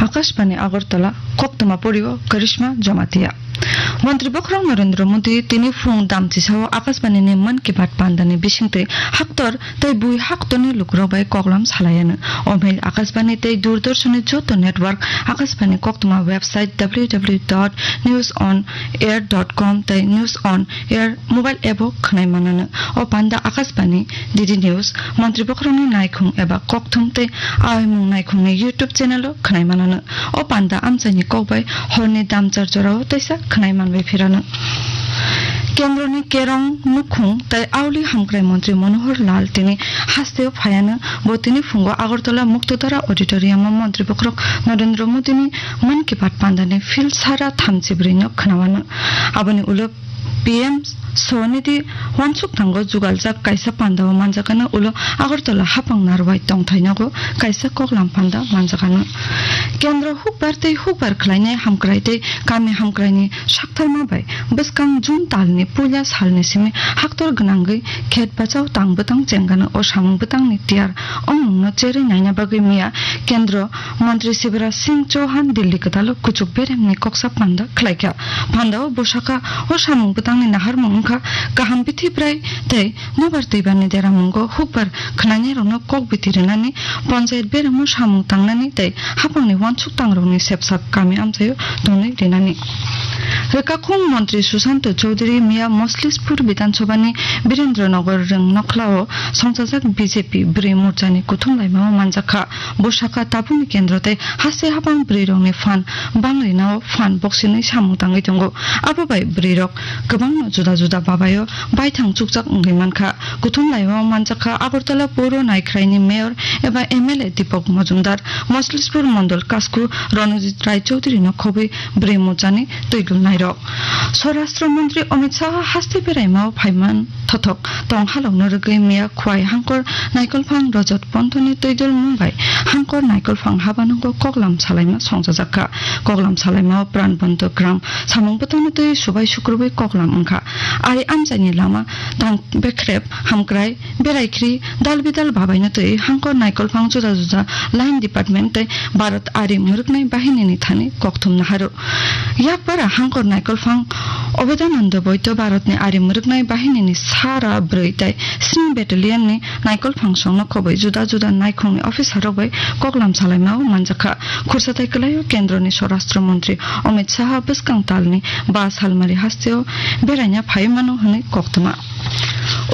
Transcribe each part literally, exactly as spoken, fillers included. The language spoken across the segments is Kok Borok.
Akashbani Agartala, koktwma porio Karishma Jamatia. Montri Bokhorok Narendra Modi tini phung damchisao Akashbani ni Mann Ki Baat pandani bisingtwi haktor tei bui haktorni lukurok bai koklam salaiano. O mail Akashbani tei Doordarshan ni joto network, Akashbani koktwma website W W W dot news on air dot com tei News on Air mobile app o khwnai manano. O panda Akashbani, D D News, Montri Bokhorokni naikhung eba kokthum tei aoimung naikhungni YouTube channel o khwnai manano. O panda amchaini kok bai horni damchar jorao teisa khwnai manbai phirano. Kendroni Kerong nukhung tei auli hamkrai montri Manohar Lal tini hasteo phaiano. Bo tini phungo Agartala Muktodhara Auditorium o Montri Bokhorok Narendra Modi ni Mann Ki Baat pandani phil sara thamchi brwi no khwnawano. Aboni ulo P M Swanidhi wansuk thango jugaljak kaisa pandao manjakano, ulo Agartala hapang narwai tongthai nogo kaisa koklam panda manjakano. Kendro hukbar tei hukbar khlainai hamkrai tei kami hamkraini saktharma bai bwskang June talni puila salni simi haktor gwnangwi khet bachao tang bwtang chengano. O samung bwtangni tiyar ongmungno cherwi naina bagwi miya Kendro Montri Shivraj Singh Chauhan Delhi kwtalo kuchuk beremni koksa panda khlaikha. Pandao bwsakha, o samung bwtangni naharmung wngkha kaham bithi bwrai tei nobar twibarni deramungo hukbar khwnainairokno kok biti rwnani, ponchayat beremo samung tangnani tei hapangni wansuk tangrokni sepsak kami amchaio tonwi rinani. Rwkakhung montri Susanto Chowdhury miya Moslispur Bidhan Sabhani Birendra Nagar Rwng Nokhlao songchajak B J P bwrwi morchani kuthum laimao manjakha. Bo sakha, tabukni kendro tei haste hapang bwrwirokni phan bang rinao phan boksini samung tangwi tongo. Abo bai bwrwirok kwbangno juda juda babaio baithang chukjak wngwi mankha. Kuthum laimao manjakha Agartala Puro Naikhraini Mayor eba M L A Deepak Majumdar, Moslispur Mondol Kasku Ronojit Rai Chowdhury no khobwi bwrwi morchani twi gulnairok. Swarashtra Montri Amit Shah haste beraimao phaiman thothok tong halokno rwgwi miya Khwai Hangkor Naikolphang Rajat Ponthoni twidulmung bai Hangkor Naikolphang habanungo koklam salaima songchajakha. Koklam salaimao Pran Bondho Gram samung bwtangno twi subai sukrubwi koklam wngkha. Ari amchaini lama tang bekrep hamkrai Beraikhri dal bidal babaino twi Hangkor Naikolphang juda juda line department tei Bharat Ari Mwrwknai Bahinini thani kokthum naharu. Yakpara Hangkor Naikolphang Obedananda Boito Bharatni Ari Mwrwknai Bahinini sara bwrwi tei sni battalionni Naikolphang songno khobwi juda juda naikhungni officerrok bai koklam salaimao manjakha. Khursa tai kwlaio Kendroni Swarashtra Montri Amit Shah bwskang talni ba salmari hasteo beraina phaiwi mano hwnwi koktwma.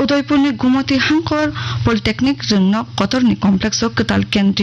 Udaipurni Gumoti Hangkor Polytechnic Rwngnok Kotorni Complex o kwtal kendriyo